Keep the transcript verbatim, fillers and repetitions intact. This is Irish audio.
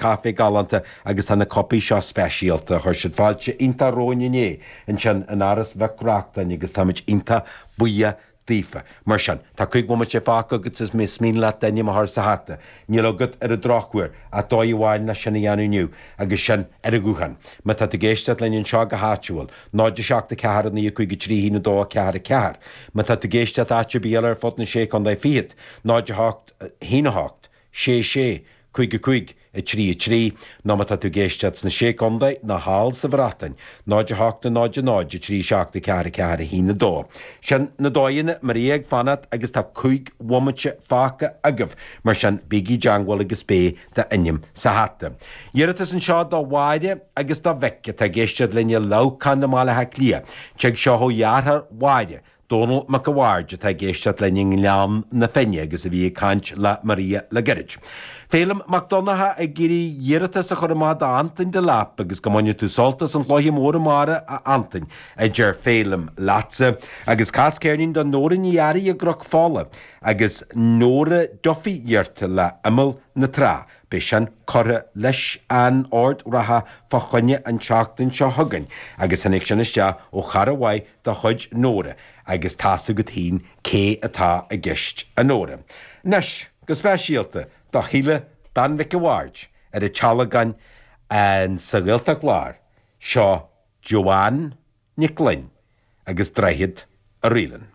caife galánta agus tá na cupaí seo speisialta chuir siad fáilte iontach romhainn inné ansin in Áras Mhic Reachtain agus táimid iontach buíoch daofa. Mar sin, tá cúig bhomaite fágtha agat is más mian leat d'ainm a chur sa hata. Níl agat ar an drochuair ach dóigh amháin leis sin a dhéanamh inniu agus sin ar an ghuthán. Má tá tú ag éisteacht linn anseo go háitiúil, náid a seacht a ceathair a naoi a cúig a trí haon a dó a ceathair a ceathair. Má tá tú ag éisteacht áit ar bith eile ar fud na sé chontae fichead, náid a hocht haon a hocht, sé sé, cúig a cúig, a trí a trí, nó má tá tú ag éisteacht sna Sé Chontae nó thall sa Bhreatain, náid a hocht a náid a náid a trí seacht a ceathair a ceathair a haon a dó. Sin na dóigheanna Maria ag fanacht agus tá cúig bhomaite fágtha agaibh, mar sin bígí i dteagmháil agus beidh d'ainm sa hata. Iarratas anseo do Mháire agus do Mhick atá ag éisteacht linn i Leamhcán i mBaile Átha Cliath. Tig seo ó dheartháir Mháire. Dónal Mac a' Bhaird atá ag éisteacht linn i nGleann na Finne agus a bhí ag caint le Maria le gairid. Féilim Mac Donnacha ag iarraidh iarratas a chur amach d'Antain Delap agus go mbaine tú sult as an chluiche mór amárach a Antain a deir Féilim leatsa agus cas ceirnín do Nóra Ní Fhearraigh i gCnoc Fola agus Nóra Duffy iarrta le Imeall na Trá. Beidh sin curtha leis an ord reatha fá choinne an tseachtain seo chugainn agus tháinig sin isteach ó chara mhaith de chuid Nóra agus tá's agat féin cé atá i gceist a Nóra. Anois go speisialta do Shíle Bean Mhic a' Bhaird ar an Tealgán an sa Ghaeltacht Láir seo Joanne Nic Gloinn agus Droichead a Ríleann.